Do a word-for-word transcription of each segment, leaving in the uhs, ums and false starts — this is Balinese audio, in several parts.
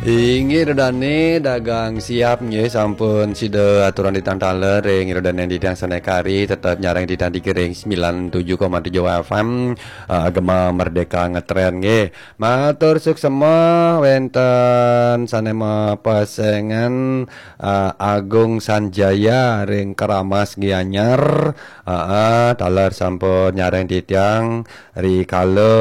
Inggih ida dane dagang siap nggih, sampun sida aturang titiang taler ring ida dane titiang sane kari, tetep nyarengin titiang ring sembilan tujuh koma tujuh F M, eh, Gema Merdeka Ngetren nggih. Matur suksema wenten sane mapesengan, eh, Agung Sanjaya ring Keramas Gianyar. Heeh, taler sampun nyarengin titiang rikala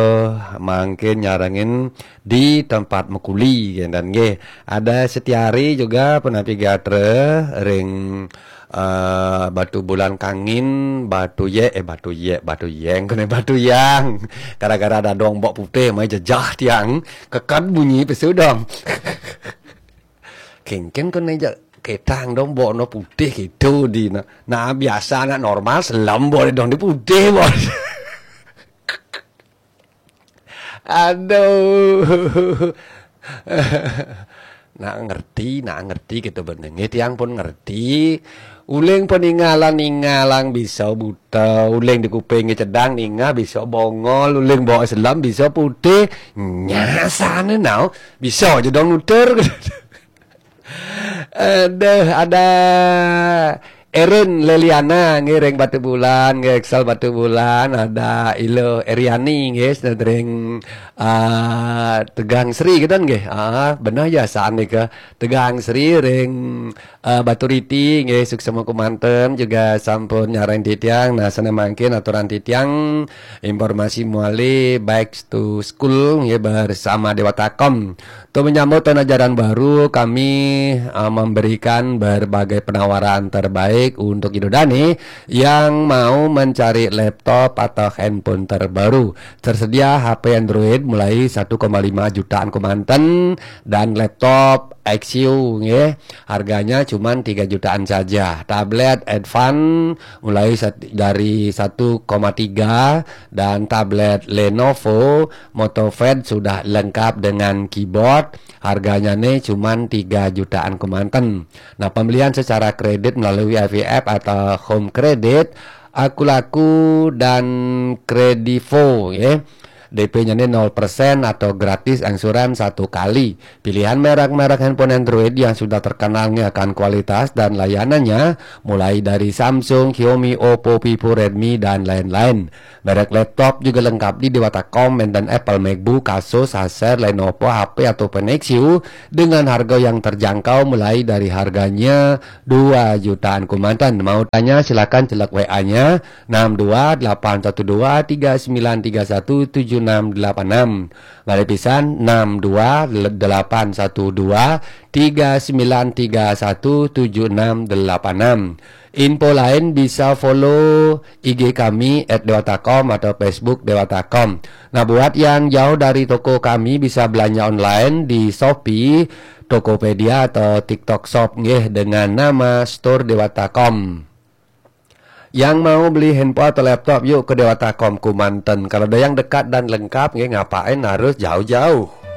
mangkin nyarengin di tempat makuli, kenten nggih. Ada Setiari juga punapi gatra ring, eh, Batu Bulan Kangin, Batu Ye, eh, Batu Ye, Batu Yeng, kene Batu Yang. Gara-gara ada dong bok putih, mai jejah tiang, kekad bunyi pesu dong. Kengken kene ja ketang dong bok no putih gitu di na. Nah, biasa anak normal selam bok dong di putih, bok. Aduh. Nak ngerti, nak ngerti kita benenge, tiang pun ngerti. Uling peningalan ningalang bisa buta, uling di kuping cedang ningah bisa bongol, uling bawa selam bisa putih. Nyasane nau, bisa aja dong nutur. Aduh, ada Erin Leliana ngiring Batu Bulan, ngiring Batu Bulan, ada Ilo Eriani nggih, sedering, ah, Tegang Sri gitu nggih. Ah, benar ya saan nika. Tegang Sri ring, ah, Batu Riti nggih, suksema kemanten juga sampun nyarengin titiang. Nah, sane mangkin aturang titiang informasi muali back to school nggih bersama Dewata Kom. Untuk menyambut tahun ajaran baru, kami, uh, memberikan berbagai penawaran terbaik untuk Idodane yang mau mencari laptop atau handphone terbaru. Tersedia H P Android mulai satu koma lima jutaan kemanten dan laptop X U, nggih. Harganya cuma tiga jutaan saja. Tablet Advan mulai sat-, dari satu koma tiga dan tablet Lenovo MotoPad sudah lengkap dengan keyboard. Harganya nih cuman tiga jutaan kemanten. Nah, pembelian secara kredit melalui I V F atau Home Credit, Akulaku dan Kredivo, ya. D P-nya ini nol persen atau gratis angsuran satu kali. Pilihan merek-merek handphone Android yang sudah terkenal nih akan kualitas dan layanannya, mulai dari Samsung, Xiaomi, Oppo, Vivo, Redmi, dan lain-lain. Merek laptop juga lengkap di Dewata Kom, enten Apple MacBook, Asus, Acer, Lenovo, H P atau Nexus dengan harga yang terjangkau mulai dari harganya dua jutaan kumantan. Mau tanya silakan celek W A-nya enam dua delapan satu dua tiga sembilan tiga satu tujuh enam delapan enam. Balik pisan enam dua delapan satu dua tiga sembilan tiga satu tujuh enam delapan enam. Info lain bisa follow I G kami at dewata com atau Facebook Dewata Com. Nah, buat yang jauh dari toko kami bisa belanja online di Shopee, Tokopedia atau TikTok Shop nggih dengan nama Store Dewata Com. Yang mau beli handphone atau laptop yuk ke Dewata Com Kumanten. Kalau ada yang dekat dan lengkap nggih, ngapain harus jauh-jauh?